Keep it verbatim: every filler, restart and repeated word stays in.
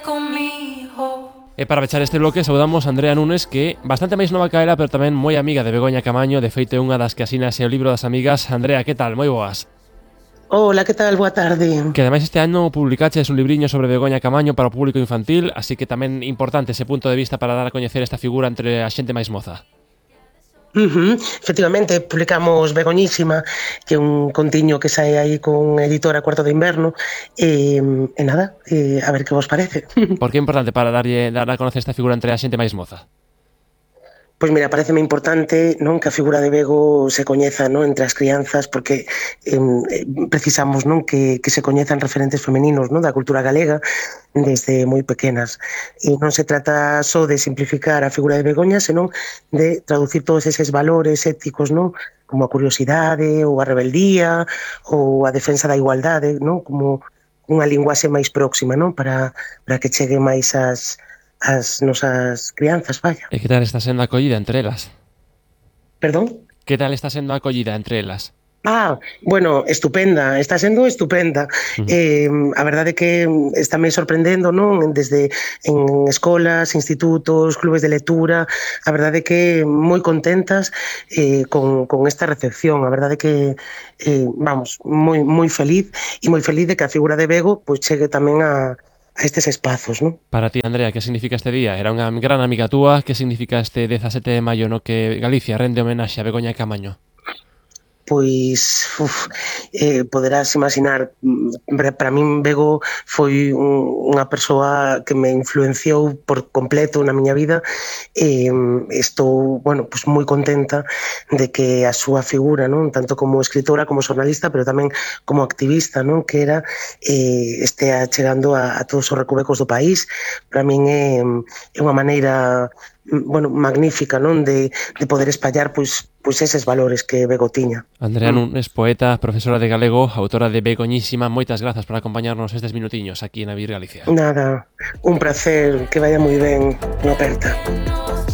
conmigo. E para pechar este bloque saudamos a Andrea Nunes, que bastante máis nova que ela, pero tamén moi amiga de Begoña Camaño. De feito é unha das que asina ese o libro das amigas. Andrea, que tal? Moi boas. Hola, que tal? Boa tarde. Que ademais este ano publicaches un libriño sobre Begoña Camaño para o público infantil, así que tamén importante ese punto de vista para dar a coñecer esta figura entre a xente máis moza. Uh-huh. Efectivamente, publicamos Begoñísima, que é un contiño que sae aí con editora Cuarto de Inverno, e, e nada, e a ver que vos parece. Por que é importante para darlle, dar a conocer esta figura entre a xente máis moza? Pois mira, pareceme importante, non, que a figura de Bego se coñeza, non, entre as crianzas, porque eh, precisamos, non, que, que se coñezan referentes femeninos, non, da cultura galega desde moi pequenas. E non se trata só de simplificar a figura de Begoña, senón de traducir todos eses valores éticos, non, como a curiosidade ou a rebeldía ou a defensa da igualdade, non, como unha linguaxe máis próxima, non, para, para que chegue máis as as nosas crianzas, vaya. E que tal está sendo a acollida entre elas? Perdón? Que tal está sendo a acollida entre elas? Ah, bueno, estupenda, está sendo estupenda. Uh-huh. eh, a verdade é que está me sorprendendo, non? Desde en escolas, institutos, clubes de lectura, a verdade é que moi contentas eh, con, con esta recepción. A verdade é que, eh, vamos, moi, moi feliz e moi feliz de que a figura de Bego pois chegue tamén a a estes espazos, non? Para ti, Andrea, que significa este día? Era unha gran amiga túa. Que significa este dezasete de maio no que Galicia rende homenaxe a Begoña Camaño? Pois, uf, eh, poderás imaginar, para min Bego foi un, unha persoa que me influenciou por completo na miña vida e estou, bueno, pues moi contenta de que a súa figura, non, tanto como escritora como xornalista, pero tamén como activista, non, que era eh, estea chegando a, a todos os recovecos do país. Para min é, é unha maneira, bueno, magnífica, non, de, de poder espallar pois, pois eses valores que Bego tiña. Andrea Nunes, poeta, profesora de galego, autora de Begoñísima, moitas grazas por acompañarnos estes minutiños aquí en Avir Galicia. Nada, un placer, que vaya moi ben, unha aperta.